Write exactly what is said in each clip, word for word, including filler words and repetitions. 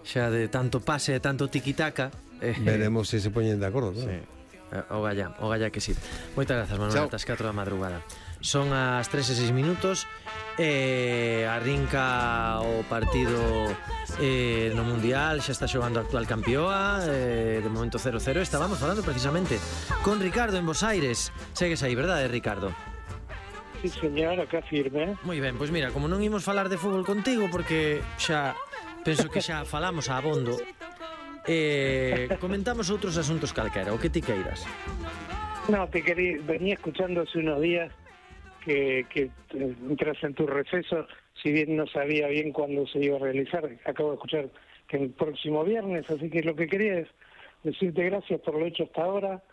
xa de tanto pase e tanto tiquitaca. eh, Veremos se se poñen de acordo, claro. Sí. O galla, o galla que sí. Moitas grazas, Manuel, ata as catro da madrugada. Son as tres e seis minutos e arrinca o partido eh, no Mundial, xa está xogando a actual campioa, eh, de momento cero cero. Estábamos falando precisamente con Ricardo en Bos Aires. Segues aí, verdade, Ricardo? Sí, señor, acá firme. Moi ben, pois mira, como non imos falar de fútbol contigo, porque xa penso que xa falamos a abondo, eh, comentamos outros asuntos calquera, o que ti queiras. No, te quería, venía escuchando hace unos días que, que entras en tu receso, si bien no sabía bien cuándo se iba a realizar, acabo de escuchar que el próximo viernes, así que lo que quería es decirte gracias por lo hecho hasta ahora,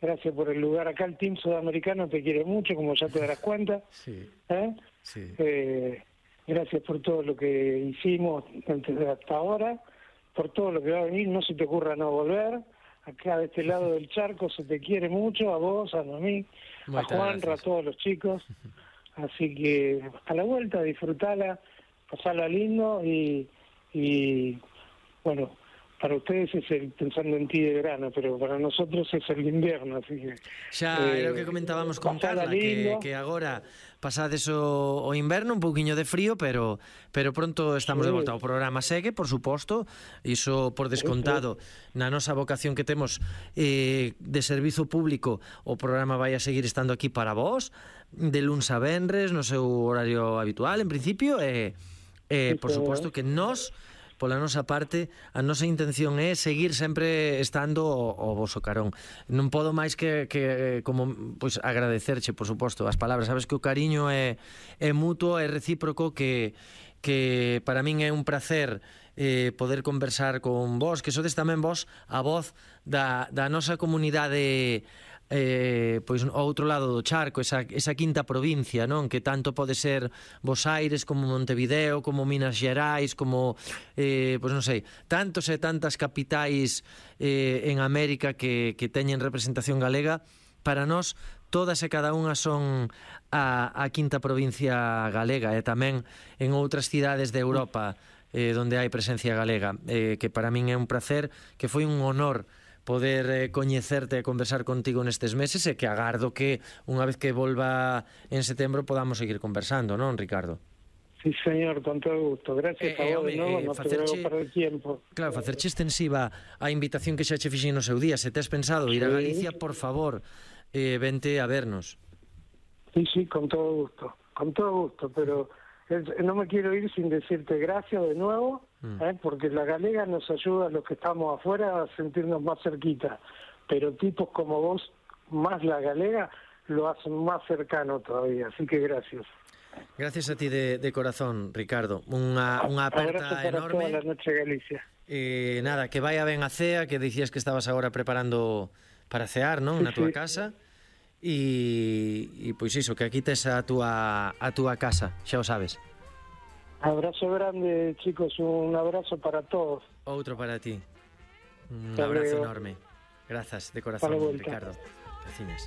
gracias por el lugar acá, el Team Sudamericano te quiere mucho, como ya te darás cuenta. Sí, ¿eh? sí. Eh, gracias por todo lo que hicimos hasta ahora, por todo lo que va a venir, no se te ocurra no volver. Acá de este lado del charco se te quiere mucho, a vos, a mí, a Juanra, a todos los chicos. Así que a la vuelta, disfrutala, pasala lindo y, y bueno, para ustedes es el pensando en ti de verano, pero para nosotros es el invierno, así que... Xa eh, era o que comentábamos con Carla, que, que agora pasades o, o inverno, un pouquiño de frío, pero pero pronto estamos sí. de volta. O programa segue, por suposto, iso por descontado, na nosa vocación que temos eh, de servizo público, o programa vai a seguir estando aquí para vós, de luns a venres, no seu horario habitual, en principio, e, eh, por suposto que nós... Pola nosa parte, a nosa intención é seguir sempre estando o, o voso carón. Non podo máis que, que como pois agradecerche, por suposto, as palabras. Sabes que o cariño é, é mutuo, é recíproco, que, que para min é un placer eh, poder conversar con vos, que sodes tamén vos a voz da, da nosa comunidade eh, pois ao outro lado do charco, esa, esa quinta provincia, non? Que tanto pode ser Bos Aires como Montevideo, como Minas Gerais, como eh, pois non sei, tantos e tantas capitais eh, en América que, que teñen representación galega. Para nós todas e cada unha son a, a quinta provincia galega, e tamén en outras cidades de Europa eh, onde hai presencia galega, eh, que para min é un placer, que foi un honor poder eh, coñecerte e conversar contigo nestes meses, e que agardo que unha vez que volva en setembro podamos seguir conversando, non, Ricardo? Sí, señor, con todo gusto. Gracias eh, a vos eh, de novo, eh, no facerche, te veo para el tiempo. Claro, facerche extensiva a invitación que xa che fixen no seu día. Se tes pensado ir a Galicia, por favor, eh, vente a vernos. Sí, sí, con todo gusto, con todo gusto, pero no me quiero ir sin decirte gracias de nuevo, mm. ¿eh? Porque la galega nos ayuda a los que estamos afuera a sentirnos más cerquita, pero tipos como vos, más la galega, lo hacen más cercano todavía, así que gracias. Gracias a ti de, de corazón, Ricardo. Unha, unha aperta para enorme. Toda la noche, Galicia. Eh, nada, que vaya ben a cea, que dicías que estabas agora preparando para cear, non? Sí, na túa sí. casa. E, e pois iso, que aquí tes a túa, a túa casa, xa o sabes. Abrazo grande, chicos, un abrazo para todos. Outro para ti. Un Hasta abrazo luego. Enorme. Grazas de corazón, Ricardo. Gracias.